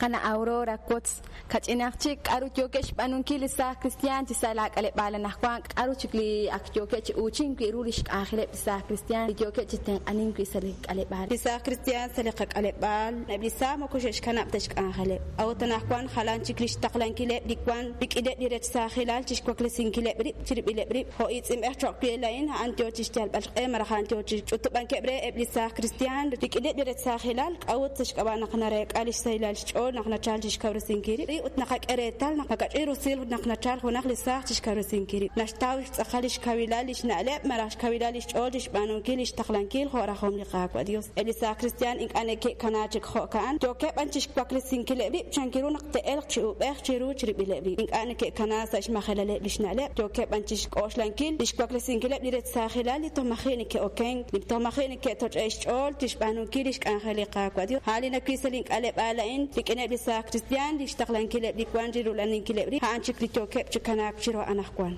Qana' Aurora, wotz kach'inaq chik k'aru yookeb' xb'aanunkil li saaj kristiaan chi sa' laak'aleb'aal anaqwan, k'aru chik li ak yookeb' chi uuchink wi' ru li xk'anjeleb' li saaj kristiaan li yookeb' chi tenq'anink wi' sa' li k'aleb'aal. Li saaj kristiaan sa' li qak'aleb'aal, eb' li saaj moko xe'xkanab' ta xk'anjeleb'. A'ut anaqwan jalan chik li xtaqlankileb' li wank rik'ineb' li rech saajilal chi xwaklesinkileb' rib' chirib'ileb' rib'. Jo' iitz'inb'ej cho'q we laa'in, a'an yo chi xyalb'al xq'e malaj a'an yo chi xch'utub'ankeb' re eb' li saaj kristiaan rik'ineb' li rech saajilal, k'a'ut sa' xk'ab'a' naq nareek'a li xsahilal xch'ool naq nachalk chi xkawresinkil rib' ut naqak'e reetal naq makach'in rusil naq nachalk junaq li saaj chi xkawresinkil rib', naxtaw xtz'aqal li xkawilal li xna'leb' malaj xkawilal li xch'ool chi xb'aanunkil li xtaqlankil jo' rajom li Qaawa' Dios. Eb' li saaj kristiaan ink'a' neke'kana chik jo'ka'an, yookeb' b'an chixwaklesinkileb' rib' chankiru naq te'elq chi uub'ej chiru chirib'ileb' rib'. Ink'a' neke'kana sa' xmajelaleb' lix na'leb', yookeb' b'an chixk'oxlankil lix waklesinkileb' li rech saajilal li toj maji' neke'okenk, li toj maji' neke'toch'e' xch'ool chixb'aanunkil lix k'anjel li Qaawa' Dios. A'an li nawil sa' lin k'aleb'aal a'in rik'ineb' li saaj kristiaan, lix taqlankileb' li wank chirula'aninkileb' rib', a'an chik li yookeb' chi kanaak chiru anajwan.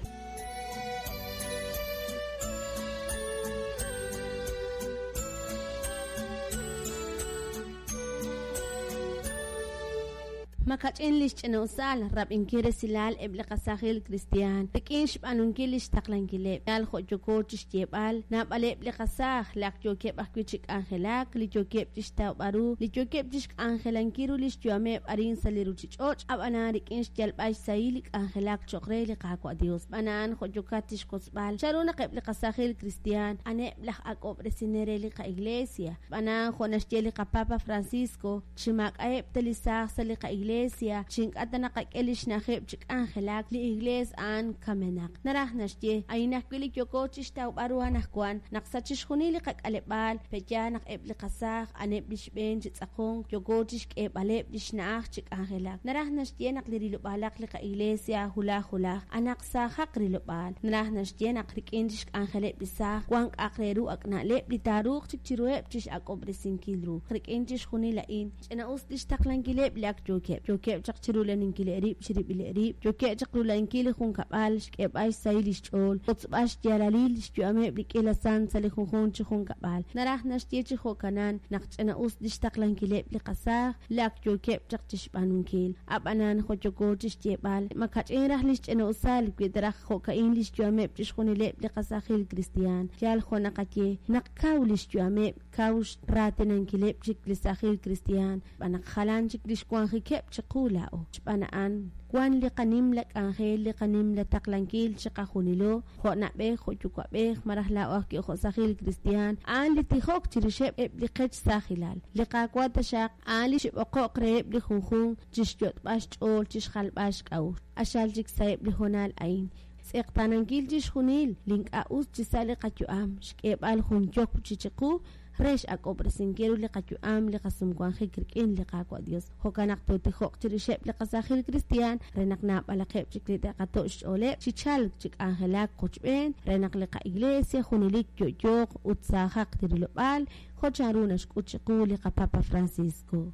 Makach'in lix ch'ina-usal rab'inkil resilal eb' li qasaajil kristiaan rik'in xb'aanunkil lix taqlankileb'. Yal jo' yooko chixyeeb'al, naab'aleb' li qasaaj li ak yookeb' ajwi' chi k'anjelak, li yookeb' chixtawb'al ru, li yookeb' chixk'anjelankil ru lix yu'ameb' arin sa' li ruchich'och', a'b'anan rik'in xyalb'al xsahil li k'anjelak choq' re li Qaawa' Dios. Xb'aan a'an, jo' yookat chixwotzb'al, chan ru naq eb' li qasaajil kristiaan a'aneb' laj ak'ob'resinel re li qa'Iglesia. Xb'aan a'an, jo' naxye li qaPapa Francisco, chi maak'a'eb' ta li saaj sa' li qa'Iglesia, chi ink'a' ta naqak'e lix na'ajeb' chi k'anjelak, li Iglees a'an kamenaq. Naraj naxye, a'in ajwi' li yooko chixtawb'al ru anajwan, naq sa' chixjunil li qak'aleb'aal, pe'yaal naq eb' li qasaaj a'aneb' li xb'een chi tz'aqonk, yooko chixk'eeb'aleb' lix na'aj chi k'anjelak. Naraj naxye naq li rilob'aalaq li qa'Iglesia wulaj wulaj, anaq saajaq rilob'aal. Naraj naxye naq rik'in lix k'anjeleb' li saaj, wan k'a'aq re ru ak' na'leb' li taaruuq chik chiruheb' chix'ak'ob'resinkil ru. Rik'in chixjunil a'in, ch'ina-us lix taqlankileb' li ak yookeb'. Yookeb' chaq chirulaninkileb' rib' chirib'ileb' rib', yookeb' chaq rula'ankil li junkab'al, xk'eeb'al xsahil lix ch'ool, xwotzb'al xyaalalil lix yu'ameb' li k'iila sant sa' li junjunq chi junkab'al. Naraj naxye chi jo'kanan naq ch'ina-us lix taqlankileb' li qasaaj li ak yookeb' chaq chixb'aanunkil. A'b'anan, jo' yooko chixyeeb'al, ma ka'ch'in raj lix ch'ina-usal wi ta raj jo'ka'in lix yu'ameb' chixjunileb' li qasaajil kristiaan. Yal jo' naqaye, naq kaw lix yu'ameb', kaw xraatinankileb' chik li saajil kristiaan, xb'aan naq jalan chik lix wanjikeb' chiqu laa'o. Xb'aan a'an, wan li qanimla k'anjel, li qanimla taqlankil chiqajunilo, jo' na'b'ej, jo' yuwa'b'ej, malaj laa'o ajwi' jo' saajil kristiaan, a'an li tijok chirixeb' eb' li qech saajilal. Li Qaawa' taxaq, a'an li xib'oqo'q reheb' li junjunq chixyot'b'al xch'ool, chixjalb'al xk'a'uxl. Q'axal chik sa'eb' li hoonal a'in, xtz'eqtaanankil chixjunil li ink'a' us chi sa' li qayu'am, xk'eeb'al jun yokb' chi chiqu re x'ak'ob'resinkil ru li qayu'am, li qasumwanjik rik'in li Qaawa' Dios. Jo'kan naq tootijoq chirixeb' li qasaajil kristiaan re naq naab'alaqeb' chik li te'qato' xch'ooleb' chi chalk chi k'anjelak qochb'een re naq li qa'Iglesia junelik yo'yooq ut saajaq li rilob'aal jo' chanru naxk'ut chiqu li qaPapa Francisco.